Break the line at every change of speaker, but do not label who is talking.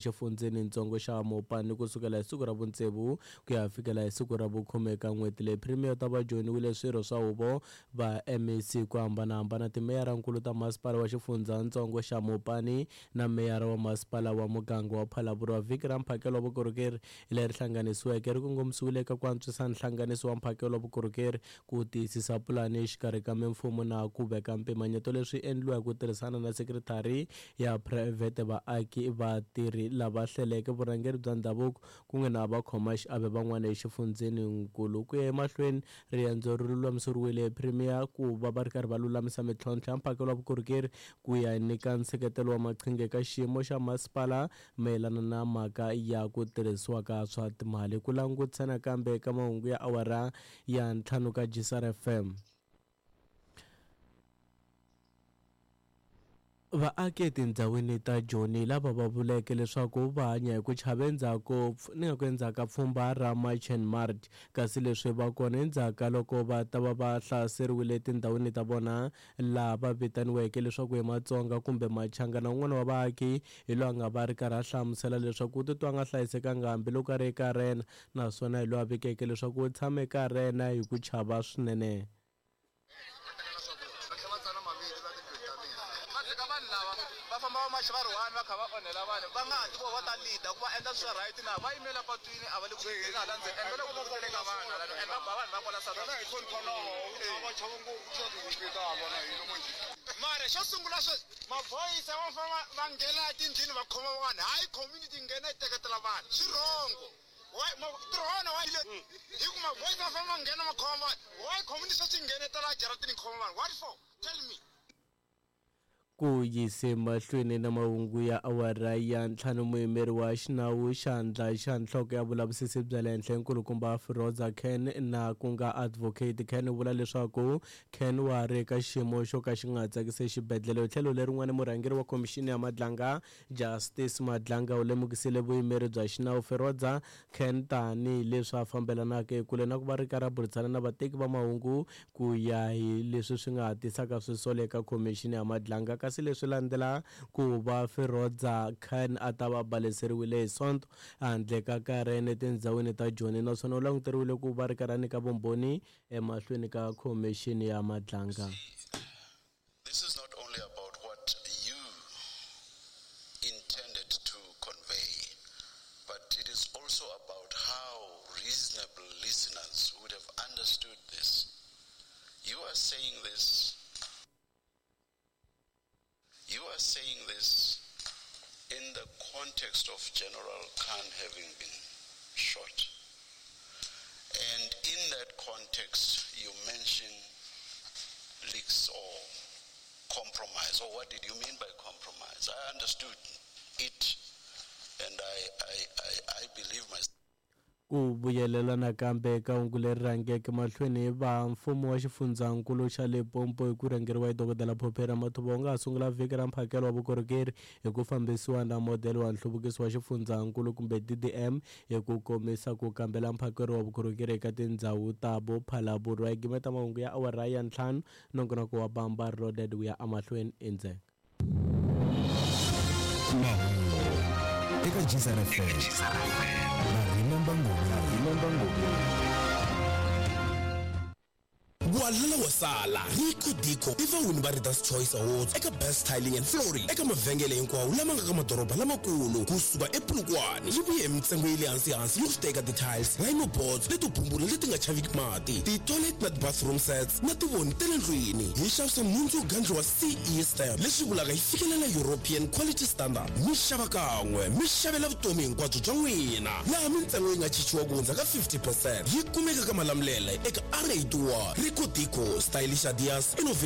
Xifundzhenintsongo xa Mopani ku sukela hi siku ra vutsevu ku ya fikela hi siku ra vukhume eka n'hweti leyi. Premier u ta va joyiniwile swirho swa huvo va MEC ku hambanahambana, timeyarankulu ta masipala wa xifundzhantsongo xa Mopani na meyara wa masipala wa muganga wa Phalaborwa. Vhiki ra mphakelo wa vukorhokeri leri hlanganisiweke ri kongomisiwile eka ku antswisa nhlanganiso wa mphakelo wa vukorhokeri, ku tiyisisa pulani exikarhi ka mimfumo na ku veka mpimanyeto leswi endliwa hi ku tirhisana na sekithara ya phurayivhete, vaaki, vatirhi lava hleleke, vurhangeri bya ndhavuko kun'we na vakhomaxiave van'wana exifundzheninkulu. Ku ya emahlweni, riendzo ri lulamiseriwile hi Premier ku va va ri karhi va lulamisa mitlhontlho ya mphakelo wa vukorhokeri ku ya nyika nseketelo wa maqhinga eka xiyimo xa masipala mayelana na mhaka ya ku tirhisiwa ka swa timali. Ku langutisa nakambe eka mahungu ya awara ya ntlhanu ka Gisar FM. Vaaki etindhawini ta Joni lava va vuleke leswaku va hanya hi ku chava endzhaku ni nga ku endzhaku ka pfhumba ra March and March kasi leswi va kona endzhaku ka loko va ta va va hlaseriwile etindhawini ta vona laha va vitaniweke leswaku i Matsonga kumbe Machangana. Un'wana wa vaaki hi loyi a nga va ri karhi a hlamusela leswaku u titwa a nga hlayisekanga hambiloko a ri eka rena naswona hi loyi a vikeke leswaku u tshame eka rena hi ku chava swinene.
Va tlhela va tsala mavito la tindlwini ta mina. Va tshika vanhu lava va famba va macha va ri one va kha va onhela vanhu va nga ha ti vo va ta leader ku va endla swa right na va yimela patwini a va le ku leadeni hala ndzeni and va le ku vuteleni ka vanhu hala and va ba vanhu va kwala South Africa. Mara xo sungula sweswi maphorisa va famba va nghena etindlwini va khoma vanhu hayi community yi nghena yi teketela vanhu swi wrong. Why ntirho wa wena why hi ku ma-boys ma famba ma nghena ma khoma vanhu why community sweswi yi nghenetela jaratini yi khoma vanhu what for tell me.
Ku yise mahlweni na mahungu ya awara ya ntlhanu muyimeri wa xinawu xandla xa nhloko ya vulavisisi bya le henhla nkulukumba Firoza Khan na ku nga Advocate Khan u vula leswaku Khan wa ha ri eka xiyimo xo ka xi nga tsakisi exibedhlele. Hi tlhelo lerin'wana murhangeri wa khomixini ya Madlanga Justice Madlanga u lemukisile vuyimeri bya xinawu Feroza Khan tani hi leswi a fambelanaka ekule na ku va ri karhi a burisana na vateki va mahungu ku ya hi leswi swi nga ha tisaka swisolo eka khomixini ya Madlanga kasi leswi landzela ku va Feroza Khan a ta va baleseriwile hi Sonto handle ka Karen etindzhawini ta Joni naswona u languteriwile ku va ri karhi a nyika vumbhoni emahlweni ka khomixini ya Madlanga.
This is not only about what you intended to convey, but it is also about how reasonable listeners would have understood this. You are saying this. You are saying this in the context of General Khan having been shot. And in that context, you mention leaks or compromise. Or what did you mean by compromise? I understood it, and I, I, I, I believe myself.
Ku vuyelela nakambe eka hungu leri rhangeke mahlweni va mfumo wa xifundzhankulu xa Limpopo hi ku rhangeriwa hi Dokodela Phophi Ramathuba wu nga ha sungula vhiki ra mphakelo wa vukorhokeri hi ku fambisiwa na modele wa nhluvukiso wa xifundzhankulu kumbe DDM hi ku komisa ku kambela mphakelo wa vukorhokeri eka tindzhawu ta bo Phalaborwa. Hi gimeta mahungu ya awara ya ntlhanu, nongonoko wa Bamba Reloaded wu ya emahlweni endzhenga.
Mahungu eka Gcr FM na Remember Ngobeni.
Walala wa sala Rico Dico i vawini va Readers Choice Awards eka Best Tiling and Flooring eka mavhengele hinkwawo lama nga ka madoroba lamakulu kusuka ePolokwane. Yi vuye hi mintsengo ya le hansi hansi yo teka ti-tiles, rhino boards leto bumbula leti nga chaviki mati, ti-toilet na ti-bathroom sets na tivoni ta le ndlwini. Hi xavisa nhundzu yo gandliwa CE stamp leswi vulaka yi fikelela European Quality Standard. Mi xava kan'we mi xavela vutomi hinkwabyo bya n'wina laha mintsengo yi nga chichiwa ku hundza ka 50 percent. Yi kumeka ka Malamulele eka R81 Rico Dico, Stylish Ideas, Innovative.